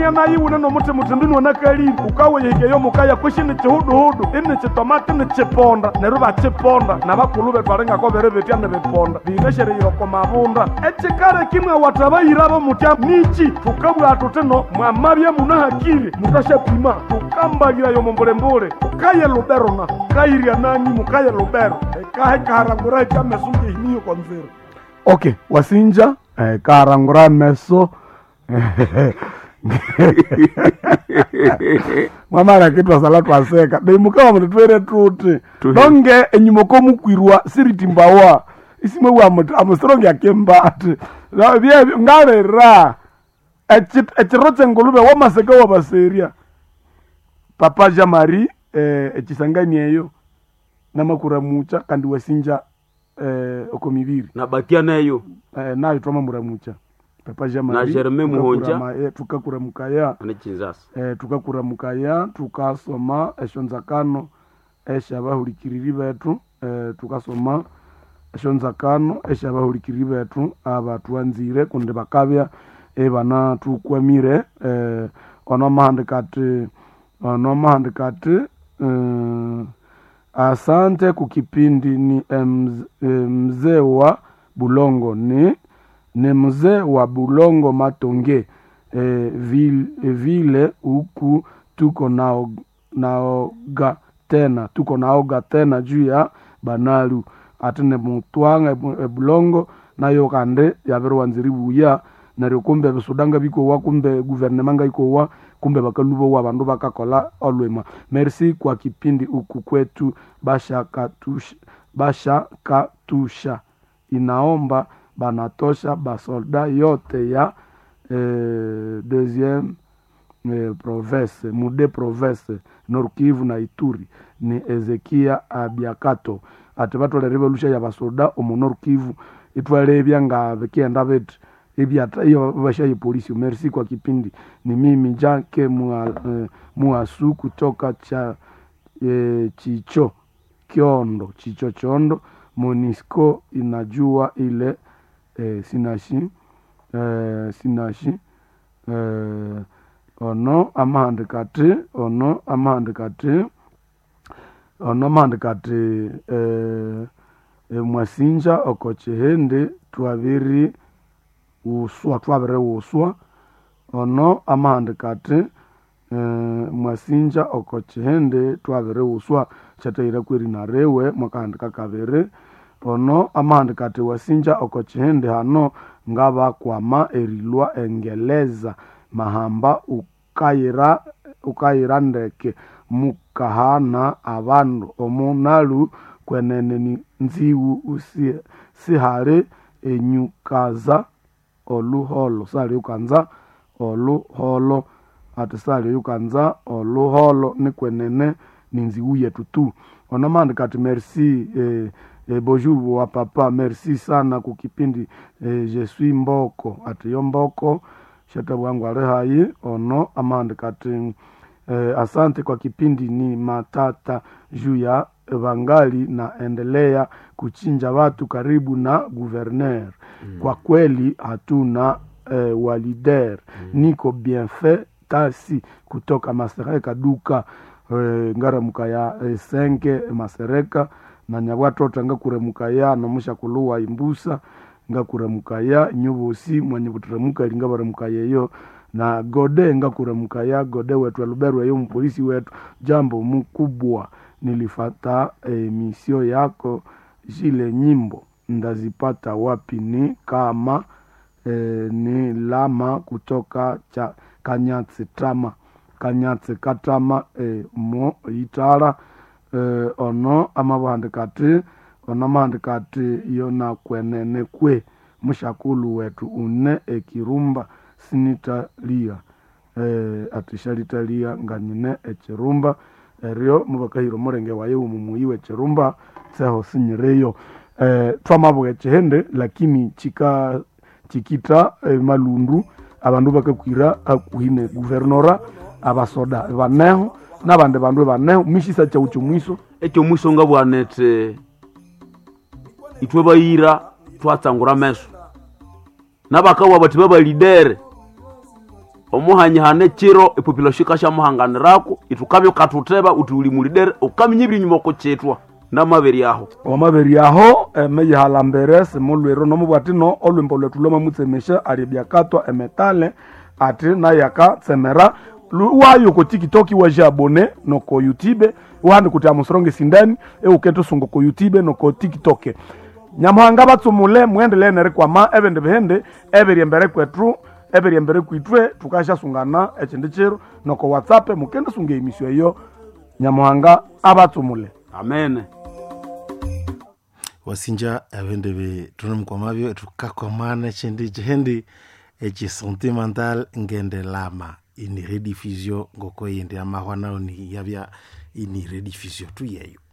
Ukamwangana yiwune n'omutima uthi mbinu anakalire ukaweyihikeyo mukaya kwishi ni chihuduhudu ini chitomati ni chiponda neryo bachiponda n'abakulu bethu alingako biri bitya nibiponda biyineshereyire oko mabunda echikare kimwe watabayirabo mutya nichi tukabwira tuti no mwamabya munahakire mutasyapima tukambalirayo mumbulembule ukaye lubero na ukayirya nani mukaye lubero ekahe kaharangura ekameso ngehiniyo kwa nzira. Okay, wasinja kaharangura meso mwamara kitwasala twaseka beimukawa mututwere tuti donge enyuma komukwirwa siritimbawa isimwe wa muti amusirongya kembati byebyo ngalera ekiro kyengulube wamaseka wabaserya papa Jean Marie ekisangani eyo namakuramucha kandi wasinja oko mibiri nabakia neyo nayo twamamuramucha papa Jean Marie Na Germain Muhonja. Tukakuramukaya ane Kinshasa tukakuramukaya tukasoma esyonzakano esyabahulikiriri bethu tukasoma esyonzakano esyabahulikiriri bethu abatwanzire kundi bakabya ibanathukwamire ono mahandikati ono mahandikati asante kukipindi ni mzee wa Bulongo ni mzee wa Bulongo Matonge vile huku tuko naoga tena tuko naoga tena juu ya banalu ate ne mutwanga ebulongo nayo kandi yabiriwanza eribuya neryo kumbe ebisuda ngabikowa kumbe guvernema ngaikowa kumbe bakalubowa abandu bakakola olwima. Merci kwa kipindi huku kwetu bashakatusha inaomba banatosha basolda yote ya deuxième province mude province Nord Kivu na Ituri ni Ezekia Abiakato ati batolere belusha ya basoda omu Nord Kivu itwalebya nga bikienda biti ibyata iyo bashaye polisi. Merci kwa kipindi ni mimi Jake Muasu kutoka cha Chicho Kiondo Chicho Chondo Monisco inajua ile sinashi sinashi ono amahandikati ono amahandikati ono amahandikati mwasinja oko chihindi twabiri uswa twabiri uswa ono amahandikati mwasinja oko chihindi twabiri uswa kyatahira kweri nariwe mwakahandika kabiri ono amahandikati wasinja oko chihindi hano ngabakwama erilwa engeleza mahamba ukayira ukayira ndeke mukahana abandu omunalu kwenene ni nziwu usi sihali enyukaza oluholo sali ukanza oluholo ati sali ukanza oluholo ni kwenene ni nziwu yetu tu ono mahandikati merci bonjour wa papa merci sana kukipindi je suis mboko ati yo mboko shatabwangu ali hayi ono amahandikati asante kwa kipindi ni matata juu ya vangali naendelea kuchinja watu karibu na guverner. Kwa kweli hatuna walider. Niko bienfait tasi kutoka Masereka duka ngaramuka ya senke Masereka na nyabwatota ngakuremuka nomushakuluwa imbusa ngakuremuka ya nyubusi mwanyibuturemuka lingabaremuka yeyo na gode ngakuremuka ya gode wetu aluberu eyo mpolisi wetu. Jambo mkubwa nilifata misio yako zile nyimbo ndazipata wapi? Ni kama ni lama kutoka cha Kanyatsi tama Kanyatsi katama mo itala ono amabuhandikati ono amahandikati yona kwenene kwe mushakulu wetu une ekirumba sinitalia atishalitalia nganyine ekirumba eryo mubakahira omulenge waye omumuyi w'ekirumba tseho sinyireyo twamabuga ekihende lakini chika chikita malundu abandu bakakwira hakuhi ne guvernora abasoda baneho n'abandi bandu baneho mishisa chau chomwiso ekyo mwiso ngabwanete ithwe bayira twatsangura meso nabakawa bati babalidere Omuhanyihana ekiro epopulation ikasyamuhanganirako, ithukabya ukathutheba uthi uli mulidere, ukaminya ebiri enyuma okukyithwa. Namabiri aho. Wamabiri aho emeyihalambere simulwiro nomubwatino olwimbo lwethu lwamamutsemesya ali byakatwa emetale ati naye akatsemera. Wayo ko TikTok waja abone noko YouTube wahandi kuti amusoronge sindani eukendisunga ko YouTube noko TikTok. Nyamuhanga batsumule muendelee nerikwama ebindi bihindi ebiri embere kwethu ebiri embere kwitwe tukasyasungana ekindi kiro noko WhatsApp mukendisunga emisyo eyo. Nyamuhanga abatsumule. Amen. Wasinja ebindu ebi thunemukwamabyo thukakwamana ekyindi kyindi ekyi sentimental ngendelama ini rediffusion ngoko yindi amahwa nayo ni yabya ini rediffusion tuyeyo.